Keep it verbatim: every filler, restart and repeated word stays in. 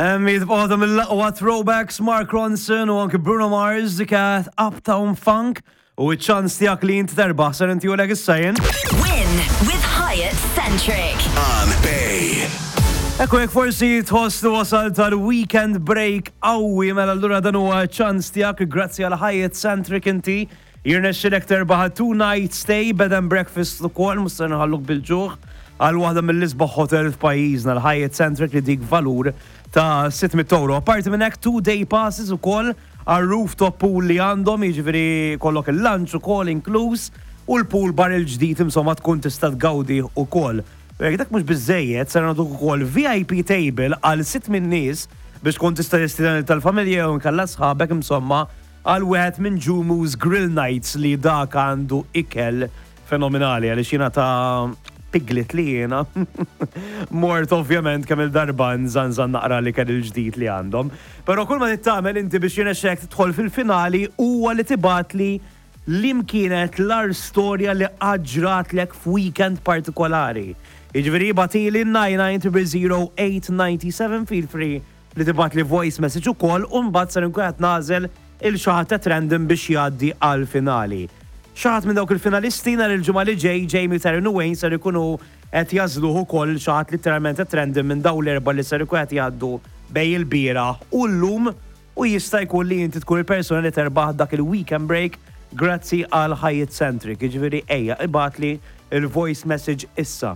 Jibqgħu mill-aqwa throwbacks, Mark Ronson u anke Bruno Mars, dik Uptown Funk, u ċ-ċans tiegħek li inti terbaħ ser intihulek issa jien. Win with Hyatt Centric. On Bay. Ekku, jekk forsi tħoss li wasal tal-weekend break qawwi, mela allura dan huwa ċans tiegħek. Grazzi għal Hyatt Centric inti jirnexxilek terbaħ two night stay, bed and breakfast ukoll, mhux se nħalluk bil-ġuħ, għal waħda mill-isbaħ hotel f'pajjiżna, l-Hyatt Centric, li dik valur ta' sitt mitt euro. Apparti minn hekk, two day passes ukoll għal rooftop pool li għandhom, jiġifieri kollok il-lunch ukoll inkluż u l-pool bar il-ġdid, insomma, tkun tista' tgawdi ukoll. U jekk dak mhux biżejjed, ser nagħtuk ukoll V I P table għal sitt minn nies biex tkun tista' tistieden tal-familja u nkella sħabek, insomma, għal wieħed minn Jumu's Grill Nights, li dak għandu ikel fenomenali, għaliex jiena ta' piglet li jiena mort ovvjament kemm il-darba nżanżan naqra li kien il-ġdid li għandhom. Però kull ma tagħmel inti biex jirnexxek tidħol fil-finali huwa li tibgħatli liema kienet l-agħar storja li ġratlek f'weekend partikolari. Jiġifieri ibgħatli nine nine zero zero eight nine seven, feel free li tibgħatli voice message ukoll, u mbagħad ser nkun qed nagħżel lil xi ħadd at random biex jgħaddi għal finali. Xi ħadd minn dawk il-finalisti nhar il-Ġimgħa li ġej, Jamie, Taryn u Wayne ser ikunu qed jagħżluh ukoll, xi ħadd literalment at random minn dawn l-erba' li ser ikun qed jgħaddu bejn il-bieraħ u llum, u jista' jkun li inti tkun il-persuna li terbaħ dak il-weekend break grazzi għal Hyatt Centric. Jiġifieri ejja, ibgħatli il-voice message issa.